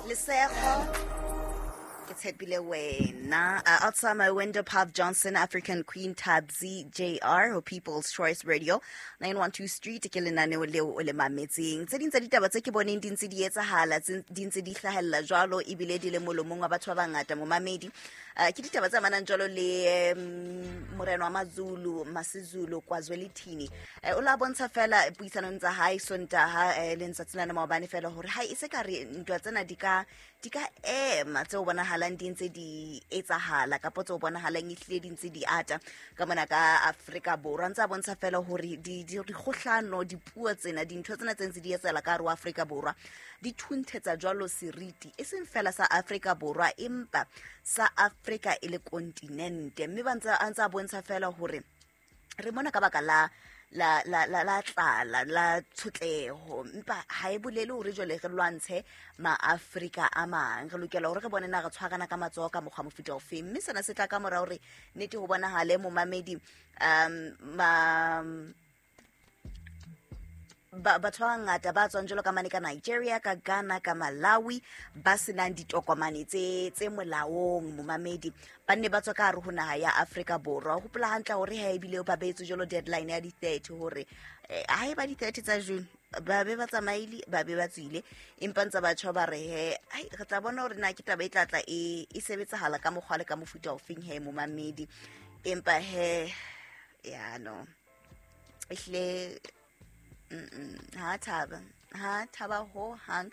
Lesego ke tshepile wena. Outside my window, Pav Johnson, African Queen, Tabzi JR ho People's Choice Radio, 912 Street ke lenaneo leo o le mametseng. Tse ding tsa ditaba tse ke boneng di ntse di etsahala, tse di ntse di hlahella jwalo ebile di le molomong wa batho ba bangata momamedi. Ke ditaba tse amanang jwalo le morena wa Mazulu, Masizulu KwaZwelithini. O la bontsha fela puisanong tsa hae Sontaha le letsatsi la maobane fela hore ha e se ka re ntwa tsena di ka ema tseo bonahalang di ntse di etsahala kapo tseo bonahalang ehlile di ntse di ata ka mona ka Afrika Borwa. Ntse a bontsha fela hore dikgohlano, dipuo tsena, dintho tsena tse ntse di etsahala ka hare ho Afrika Borwa di thunthetsa jwalo seriti e seng fela sa Afrika Borwa empa sa Afrika e le kontinente, mme ba ntse a ntse a bontsha fela hore re mona ka baka la tlala, la tshotleho, empa ha e bolele hore jwale re lwantshe maafrika a mang. Re lokela hore re bone na re tshwarana ka matsoho ka mokgwa mofuta ofeng, mme sena se tla ka mora hore nnete ho bonahale momamedi ma batho ba bangata ba tswang jwalo ka mane ka Nigeria, ka Ghana, ka Malawi, ba senang ditokomane tse molaong momamedi, ba nne ba tswa ka hare ho naha ya Afrika Borwa. O hopola hantle hore ha ebile ba beetswe jwalo deadline ya di-30 hore ha e ba di-30 tsa June ba be ba tsamaile, ba be ba tswile, empa ntse batjha ba re he ai re tla bona hore na ke taba e tla tla e sebetsahala ka mokgwa le ka mofuta ofeng he momamedi. Empa he ya no ehlile ha thaba, ha thaba ho hang.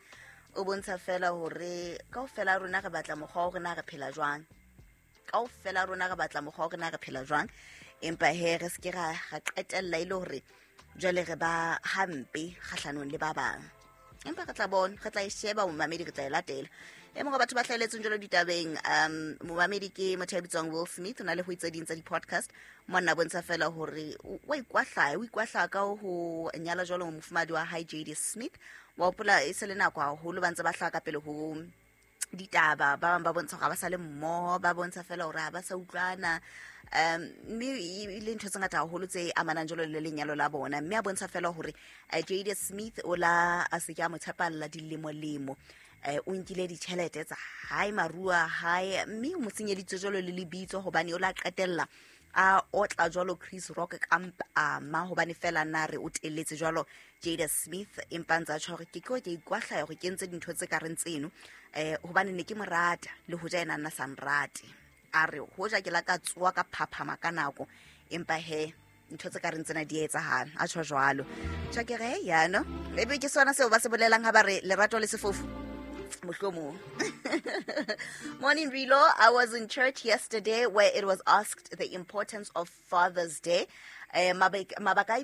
O bontsha fela hore kaofela rona re batla mokgwa wa hore na re phela jwang, kaofela rona re batla mokgwa wa hore na re phela jwang, empa he re seke ra qetella e le hore jwale re ba hampe kgahlanong le ba bang. Empa re tla bona, re tla e sheba momamedi, re tla e latela. E mongwe wa batho ba hlahelletseng jwalo ditabeng momamedi ke motho ya bitswang Will Smith. O na le ho itse ding tsa di-podcast monna, bontsha fela hore wa ikwahlaya, o ikwahlaya ka ho nyala jwalo mofumahadi wa hae Jada Smith. Wa hopola e se le nako haholo ba ntse ba hlaha ka pele ho ditaba, ba bang ba bontsha hore ha ba sa le mmoho, ba bontsha fela hore ha ba sa utlwana, mme e le ntho tse ngata haholo tse amanang jwalo le lenyalo la bona, mme a bontsha fela hore Jada Smith o la a se ke a mo tshepalla dilemo-lemo, o nkile ditjhelete tsa hae, maruo a hae, mme o mo senyeditse jwalo le lebitso hobane o la qetella a otla jwalo Chris Rock ka mpama hobane fela na re o telletse jwalo Jada Smith. Empa ntse a tjho hore ke ke ikwahlaya hore ke entse dintho tse ka reng tseno hobane ne ke mo rata le hoja ena nna sa nrate. A re hoja ke la ka tsoa ka phaphama ka nako, empa he ntho tse ka reng tsena di etsahala, a tjho jwalo. Tjho ke re yano ebe ke sona seo ba se bolelang ha ba re lerato le sefofu mohlomong. Morning, Rilo. I was in church yesterday where it was asked the importance of Father's Day. Mabaka a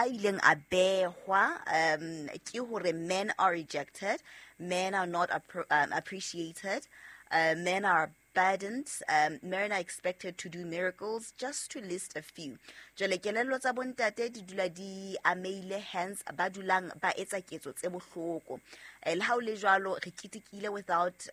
ileng a behwa ke hore men are rejected, men are not appreciated, men are burdened, men are expected to do miracles, just to list a few. Jwale kelello tsa bontate di dula di ameile, hence ba dulang ba etsa ketso tse bohloko. Le ha o le jwalo re ketekile without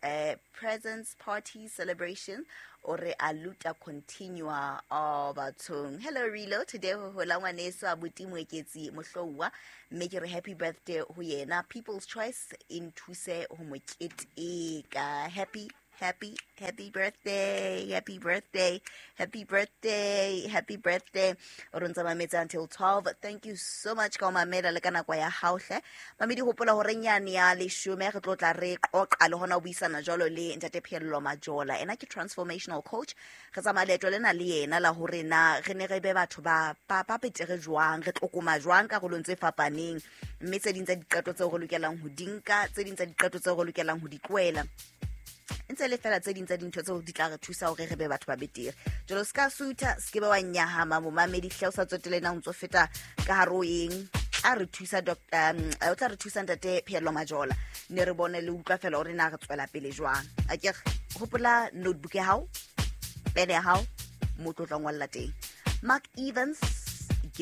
presents, party, celebration, ore a luta continua. Oh bathong. Hello Rilo, today ho hola ngwaneso abuti Moeketsi Mohlouwa, mme ke re happy birthday ho yena. People's Choice e nthuse ho mo keteka. Happy happy happy birthday, happy birthday, happy birthday, happy birthday. O re ntse mametse until 12. Thank you so much ka o mamela le ka nako ya hao hle mamedi. Hopola hore nyane ya 10 re tlo tla re qoqa le hona ho buisana jwalo le ntate Phello Majola, ena ke transformational coach. Re tsamaya leeto lena le yena la hore na re ne re be batho ba betere jwang, re tlokoma jwang karolong tse fapaneng, mme tse ding tsa diqeto tseo re lokelang ho di nka, tse ding tsa diqeto tseo re lokelang ho di tlohela, ntse le fela tse ding tsa dintho tseo di tla re thusa hore re be batho ba betere. Jalo se ka sutha, se ke be wa nyahama momamedi hle, o sa tsotele na o ntso feta ka hare o eng. Tla re thusa o tla re thusa ntate Pheello Majola, ne re bone le utlwa fela hore na re tswela pele jwang. A ke hopola notebook ya hao, pene ya hao, mo tlo tla ngolla teng. Mark Evans.